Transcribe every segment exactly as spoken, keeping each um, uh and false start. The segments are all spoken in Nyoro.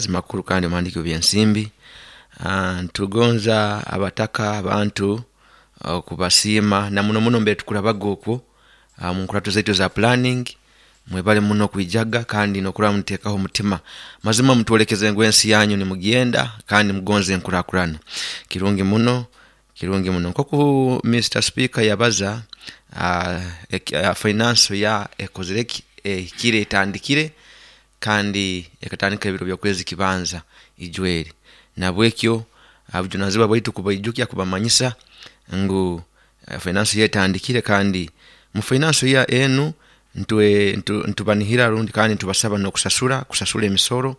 Makuru kandi omuhandiiki w'ebyensimbi. Ah, ntugonza abataka abantu okubasiima na muno muno mbere tukurabaga okwo ah, mu nkurato zaitu eza planning. Mwebale muno okwijaga kandi n'okurora muteekaho omutima. Mazima mutwolekeze ngu ensi yanyu nimugyenda kandi mugonza enkurakurana. Kirungi muno, kirungi muno. Nkoku Mister Speaker yabaza, ah, eki- ah, finance ya ekozire ki, ehikire, etandikire kandi ekatandika ebiro by'okwezi kibanza ijweri. Nabwekyo bujunanizibwa bwaitu kubaijukya, kubamanyisa ngu eh, finance year etandikire, kandi mu finance year enu ntwe ntu- ntubanihira rundi kandi ntubasaba n'okusasura kusasura emisoro,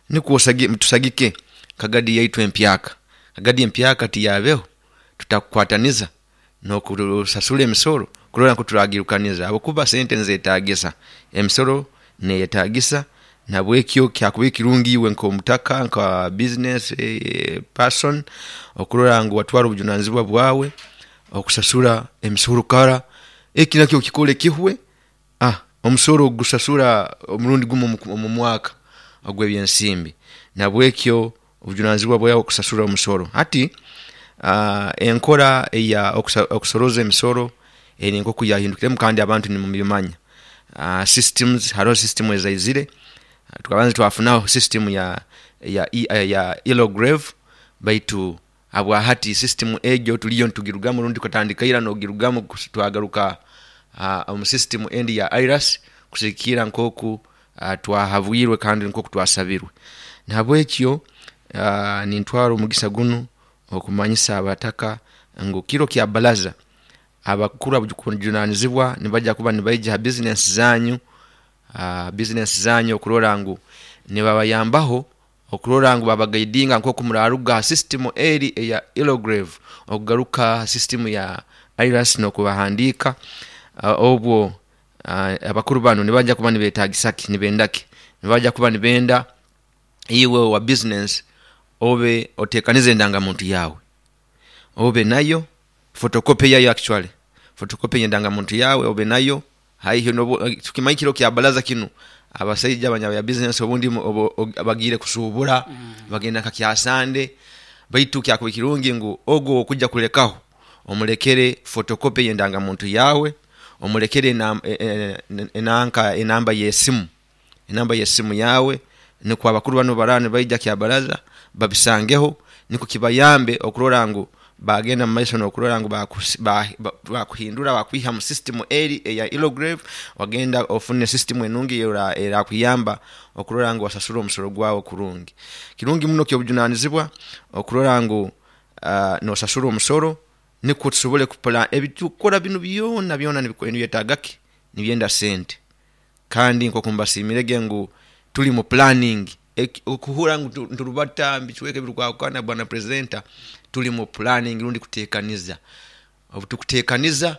nikwo osagi- tusagike kagadi yaitu empyaka. Kagadi empyaka tiyabeho tutakukwataniza n'okusasura emisoro kurora nku turagirukaniza, habwokuba sente nizetagisa, emisoro neyetagisa. Nabwekyo kyakubaire kirungi iwe nk'omutaka, nka business eh, person, okurora ngu watwara obujunanizibwa bwawe okusasura emisoro kara. Eki nakyo okikole kihwe. ah, omusoro ogusasura omurundi gumu omu- omu mwaka ogw'ebyensimbi. Nabwekyo obujunanizibwa bwawe okusasura omusoro. Hati ah, enkora eya okusa- okusoroza emisoro eri nkoku yahindukiremu, kandi abantu nimubimanya. Ah, systems, haroho system ezaizire. Twabanza twafunaho system ya ya ya Elograve, baitu habwahati system egyo tuliyo nitugirugamu, rundi tukatandika ira n'ogirugamu, kus- twagaruka ah, omu system endi ya IRAS, kusigikira nkoku ah, twahabwirwe kandi nkoku twasabirwe. Nahabwekyo ah, nintwara omugisa gunu okumanyisa abataka ngu kiro kya balaza abakuru abujunanizibwa nibaija kuba nibaija ha bizinesi zanyu, ah, bizinesi zanyu, okurora ngu nibabayambaho, okurora ngu babagaidinga nkoku muraruga ha system eri eya Elograve okugaruka ha system ya IRAS n'okubahandiika. Ah, obwo ah, abakuru banu nibaija kuba nibetagisa ki, nibenda ki? Nibaija kuba nibenda iwe owa business obe otekanize endangamuntu yawe, obe nayo photocopy yayo, actually photocopy y'endangamuntu yawe obe nayo haihi. Nobu tukimanyi kiro kya balaza kinu abasaija abanya business obundi obu- obu- bagiire kusubura, bagenda nka kyasande, baitu kyakubaire kirungi ngu ogu owokujja kulekaho omulekere photocopy y'endangamuntu yawe, omulekere enam- e- e- enanka, enamba y'esimu, enamba y'esimu yawe, nukwo abakuru banu obu baraba nibaija kyabaraza babisangeho, nikwo kibayambe okurora ngu bagenda mumaiso n'okurora ngu bakusi- ba- bakuhindura, bakwiha mu system eri eya Elograve, wagenda ofune system enungi erakuyamba okurora ngu wasasura omusoro gwawe kurungi. Kirungi muno, ky'obujunanizibwa okurora ngu ah, nosasura omusoro, nikwo tusobole kupula ebitukukora binu byona byona. Nibyetaaga ki? Nibyenda sente. Kandi nkoku mbasiimirege ngu tuli mu planning, Eki- okuhura ngu niturubata mubicweka ebirukwahukana, bwana presenter, tuli mu planning rundi kutekaniza. Obutukutekaniza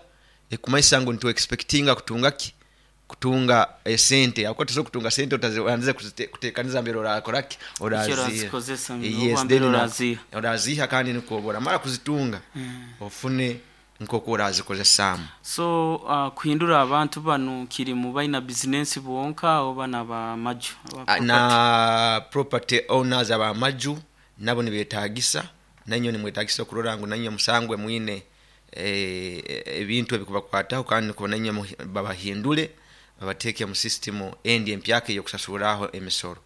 ekikumanyisa ngu nitu expectinga kutunga ki? Kutunga esente, habwokuba tosobola kutunga sente otabandize kutekaniza mbere orakora ki, oraziiha. Ekyorazikozesa. Yes, oba mbere then na- oraziiha. Oraziiha, kandi nikwo obu oramara kuzitunga ofune nkoku orazikozesaamu. So uh, kuhindura abantu banu kiri mu baina bizinesi bonka oba n'abamaju aba Ah, property? Na property owners abamaju nabo nibetagisa, nainywe nimwetagisa okurora ngu nainywe musangwe mwine eh, ebintu ebikubakwataho, kandi nukwo nainywe muhi- babahindule, babateeke mu system endi empyaka ey'okusasurraho emisoro.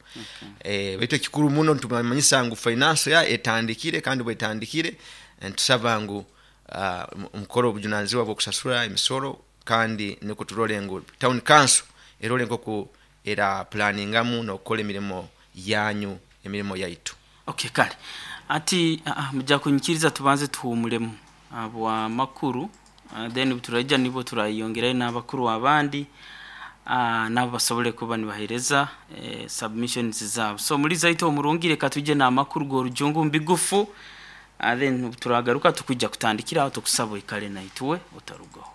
Eh, baitu ekikuru muno nitumanyisa ngu finance ya etandikire, kandi bwetandikire nitusaba ngu ah, mu- mukore obujunanizibwa bw'okusasura emisoro, kandi nukwo turole ngu town council erole nkoku era planningamu n'okukora emirimo yanyu, emirimo yaitu. Okay, kale ati uh, mujja kunyikiriza tubanze tuhumulemu bwa makuru, uh, then turaija nibwo turayongerayo n'abakuru abandi, uh, nabo basobole kuba nibahereza eh, submissions zabo. So muri zaitu omurungi, reka tujye n'amakuru g'orujungu mbigufu, uh, then turagaruka tukujja kutandikira aho. Tukusaba oikale naitwe, otarugaho.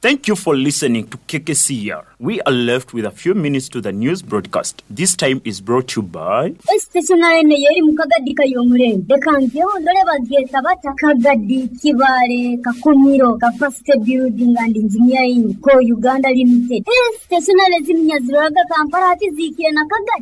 Thank you for listening to K K C R. We are left with a few minutes to the news broadcast. This time is brought to you by Stationery eri mu Kagadi kay'omulembe. Leka njeho ndole bagyeta bata Kagadi Kibaale Kakumiro Capacity Building and Engineering Co Uganda Limited. Stationery ziminya ziroraga Kampala, ati ziikire na Kagadi.